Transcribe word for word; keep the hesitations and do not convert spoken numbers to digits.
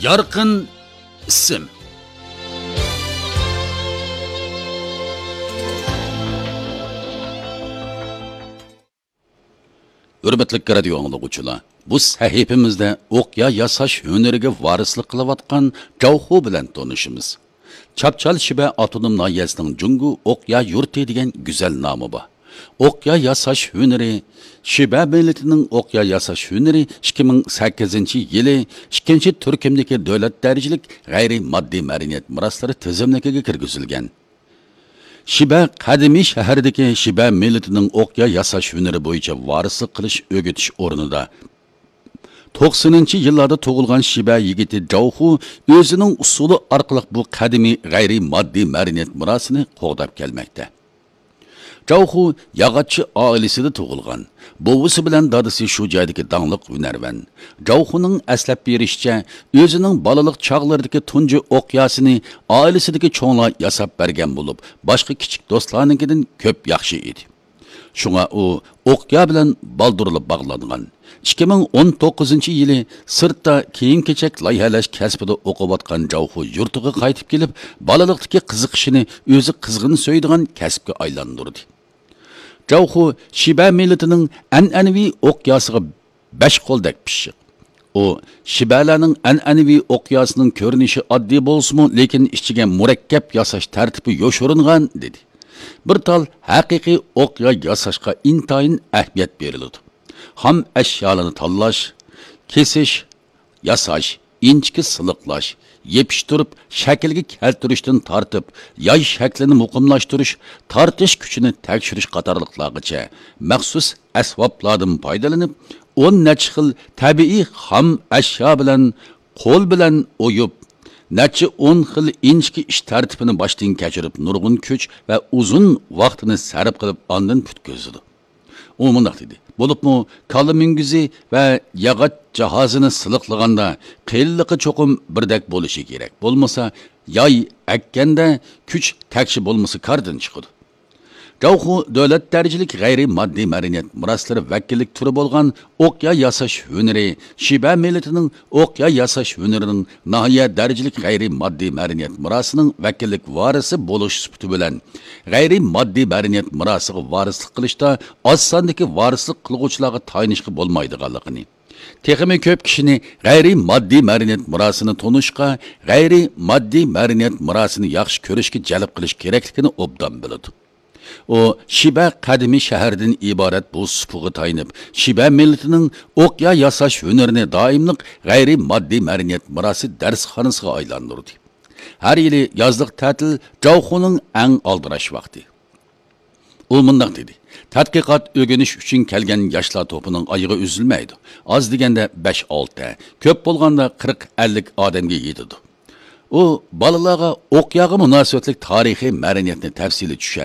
يارقىن ئىسىم. ھۆرمەتلىك رادىيو ئاڭلىغۇچىلار، بۇ سەھىپىمىزدە ئوقيا ياساش ھۈنىرىگە ۋارىسلىق قىلىۋاتقان جاۋخۇ بىلەن تونۇشىمىز. چاپچال شىبە ئاپتونوم ناھىيەسىنىڭ جۇڭگو ئوقيا يۇرتى دېگەن گۈزەل نامى بار. ئوقيا ياساش ھۈنىرى، شىبە مىللىتىنىڭ ئوقيا ياساش ھۈنىرى ئىككى مىڭ سەككىزىنچى يىلى ئىككىنچى تۈركۈمدىكى دۆلەت دەرىجىلىك غەيرىي ماددىي مەدەنىيەت مىراسلىرى تىزىملىكىگە كىرگۈزۈلگەن. شىبە قەدىمىي شەھىرىدىكى شىبە مىللىتىنىڭ ئوقيا ياساش ھۈنىرى بويىچە ۋارىسلىق قىلىش ئۆگىتىش ئورنىدا توقسىنىنچى يىللاردا تۇغۇلغان شىبە يىگىتى جاۋخۇ ئۆزىنىڭ ئۇسسۇلى ئارقىلىق بۇ قەدىمىي غەيرىي ماددىي مەدەنىيەت مىراسىنى قوغداپ كەلمەكتە. جاۋخۇ ياغاچچى ئائىلىسىدە تۇغۇلغان. بوۋىسى بىلەن دادىسى شۇ جايدىكى داڭلىق ھۈنەرۋەن. جاۋخۇنىڭ ئەسلەپ بېرىشىچە، ئۆزىنىڭ بالىلىق چاغلىرىدىكى تۇنجى ئوقياسىنى ئائىلىسىدىكى چوڭلار ياساپ بەرگەن بولۇپ، باشقا كىچىك دوستلارنىڭكىدىن كۆپ ياخشى ئىدى. شۇڭا ئۇ ئوقيا بىلەن بالدۇرلا باغلانغان. ئىككى مىڭ ئون توققۇزىنچى يىلى سىرتتا كىيىم-كېچەك لايىھەلەش كەسپىدە ئوقۇۋاتقان جاۋخۇ يۇرتىغا قايتىپ كېلىپ، بالىلىقتىكى قىزىقىشىنى ئۆزى قىزغىن سۆيىدىغان كەسىپكە ئايلاندۇردى. جاۋخۇ شىبە مىللىتىنىڭ ئەنئەنىۋى ئوقياسىغا بەش قولدەك پىششىق. ئۇ شىبەلەرنىڭ ئەنئەنىۋى ئوقياسىنىڭ كۆرۈنۈشى ئاددىي بولسىمۇ، لېكىن ئىچىگە مۇرەككەپ ياساش تەرتىپى يوشۇرۇنغان، دېدى. بىر تال ھەقىقىي ئوقيا ياساشقا ئىنتايىن ئەھمىيەت بېرىلىدۇ. خام ئەشيالارنى تاللاش، كېسىش، ياساش، ئىنچىكە سىلىقلاش، يېپىشتۇرۇپ شەكىلگە كەلتۈرۈشتىن تارتىپ، ياي شەكلىنى مۇقىملاشتۇرۇش، تارتىش كۈچىنى تەكشۈرۈش قاتارلىقلارغىچە مەخسۇس ئەسۋابلاردىن پايدىلىنىپ، ئون نەچچە خىل تەبىئىي خام ئەشيا بىلەن قول بىلەن ئويۇپ، نەچچە ئون خىل ئىنچىكە ئىش تەرتىپىنى باشتىن كەچۈرۈپ، نۇرغۇن كۈچ ۋە ئۇزۇن ۋاقتىنى سەرپ قىلىپ، ئاندىن پۈتكۈزىدۇ. ئۇ مۇنداق دېدى: بولۇپمۇ كالا مۈڭگۈزى ۋە ياغاچ جاھازىنى سىلىقلىغاندا قېلىنلىقى چوقۇم بىردەك بولۇشى كېرەك، بولمىسا ياي ئەككەندە كۈچ تەكشى بولمىسا كاردىن چىقىدۇ. جاۋخۇ دۆلەت دەرىجىلىك غەيرىي ماددىي مەدەنىيەت مىراسلىرى ۋەكىللىك تۈرى بولغان ئوقيا ياساش ھۈنىرى، شىبە مىللىتىنىڭ ئوقيا ياساش ھۈنىرىنىڭ ناھىيە دەرىجىلىك غەيرىي ماددىي مەدەنىيەت مىراسىنىڭ ۋەكىللىك ۋارىسى بولۇش سۈپىتى بىلەن، غەيرىي ماددىي مەدەنىيەت مىراسىغا ۋارىسلىق قىلىشتا ئاز ساندىكى ۋارىسلىق قىلغۇچىلارغا تايىنىشقا بولمايدىغانلىقىنى، تېخىمۇ كۆپ كىشىنى غەيرىي ماددىي مەدەنىيەت مىراسىنى تونۇشقا، غەيرىي ماددىي مەدەنىيەت مىراسىنى ياخشى كۆرۈشكە جەلپ قىلىش كېرەكلىكىنى ئوبدان بىلىدۇ. ئۇ شىبە قەدىمىي شەھەردىن ئىبارەت بۇ سۇپىغا تايىنىپ، شىبە مىللىتىنىڭ ئوقيا ياساش ھۈنىرىنى دائىملىق غەيرىي ماددىي مەدەنىيەت مىراسى دەرسخانىسىغا ئايلاندۇردى. ھەر يىلى يازلىق تەتىل جاۋخۇنىڭ ئەڭ ئالدىراش ۋاقتى. ئۇ مۇنداق دېدى: تەتقىقات، ئۆگىنىش ئۈچۈن كەلگەن ياشلار توپىنىڭ ئايىغى ئۈزۈلمەيدۇ. ئاز دېگەندە بەش-ئالتە، كۆپ بولغاندا قىرىق-ئەللىك ئادەمگە يېتىدۇ. ئۇ بالىلارغا ئوقياغا مۇناسىۋەتلىك تارىخىي مەدەنىيەتنى تەپسىلىي چۈشەندۈردى.